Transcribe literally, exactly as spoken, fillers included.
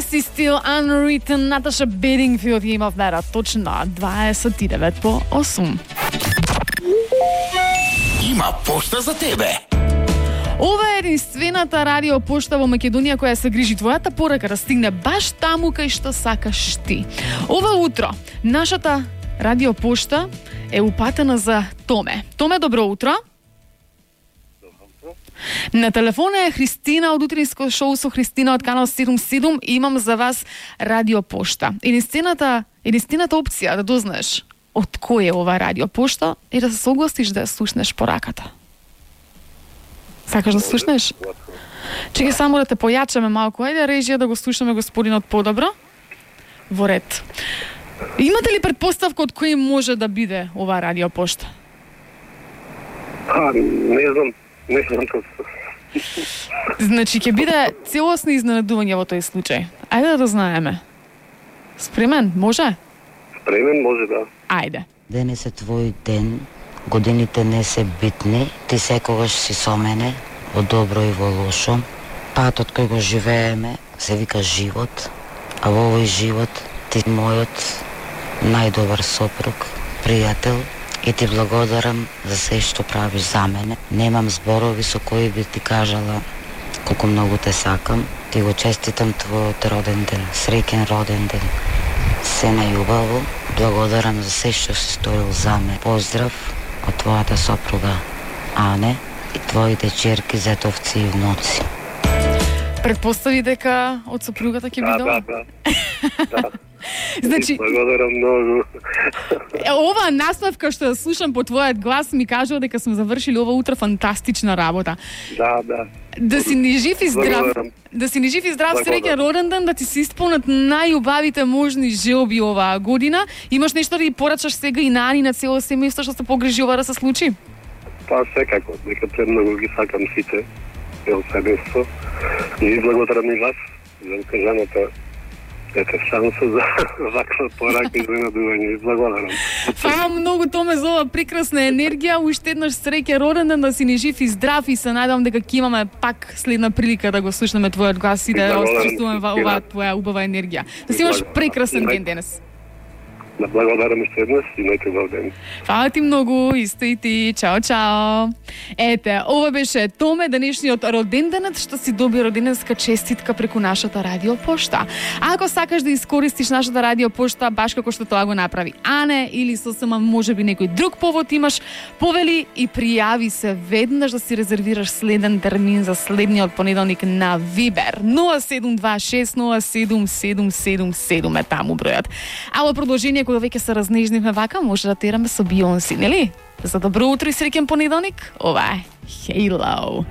Nasty Still Unwritten, Наташа Бедингфилд ја има вмера точно дваесет и девет по осум. Има пошта за тебе. Ова е единствената радио пошта во Македонија која се грижи твојата порака да стигне баш таму кај што сакаш ти. Ова утро нашата радио пошта е упатена за Томе. Томе, добро утро. На телефона е Христина од утринско шоу со Христина од канал седум седум и имам за вас радио пошта. Единствената, единствената опција да дознаеш од кој е ова радио пошта и да се согласиш да ја слушнеш пораката. Сакаш да слушнеш? Чекај само да те појачаме малку. Ајде режија да го слушаме господинот подобро. Во ред. Имате ли предпоставка од кој може да биде ова радио пошта? А, не знам. Не знам тоа. Значи, ќе биде целосно изненадување во тој случај. Ајде да знаеме. Спремен, може? Спремен, може да. Ајде. Денес е твој ден, годините не се битни, ти секогаш си со мене, во добро и во лошо. Патот кој го живееме се вика живот, а во овој живот ти мојот најдобар сопруг, пријател, и ти благодарам за се што правиш за мене. Немам зборови со кои би ти кажала колку многу те сакам. Ти го честитам твојот роден ден, среќен роден ден. Се најубаво, благодарам за се што си сторил за мене. Поздрав од твојата сопруга Ане и твоите черки Зетовци и внуци. Предпостави дека од сопругата ќе биде ова? Да, да, да. Значи, благодарам многу. Ова насмевка што ја слушам по твојот глас ми кажува дека сме завршили ова утро фантастична работа. Да, да. Да си ни жив и здрав. Благодарам. Да си ни жив и здрав, Благодарам. среќен роден ден, да ти се исполнат најубавите можни желби оваа година. Имаш нешто да ги порачаш сега и на Ани, на цело семејство што се погрижи ова да се случи? Па секако, дека премногу ги сакам сите, цел семејство. И ви благодарам и вас за укажаната ете шанса за ваква порака и изненадување. Благодарам. Фала многу, Томе, за ова прекрасна енергија. Уште еднаш среќен роден ден, да си ни жив и здрав и се надевам дека ќе имаме пак следна прилика да го слушнеме твојот глас и да осчувствуваме оваа твоја убава енергија. Да си имаш прекрасен ден денес. Да, благодарам уште еднаш и најте добар ден. Фала ти многу, исто и ти. Чао, чао. Ете, ова беше Томе, денешниот роденденет, што си доби роденденска честитка преку нашата радио пошта. А ако сакаш да искористиш нашата радио пошта, баш како што тоа го направи Ане, или сосема можеби некој друг повод имаш, повели и пријави се веднаш да си резервираш следен термин за следниот понеделник на Вибер. нула седум два шест нула седум седум седум седум е таму бројот. А во продолжение, кога веќе се разнежнивме вака, може да тераме со Бионси, нели? За добро утро и среќен понеделник, ова е Halo.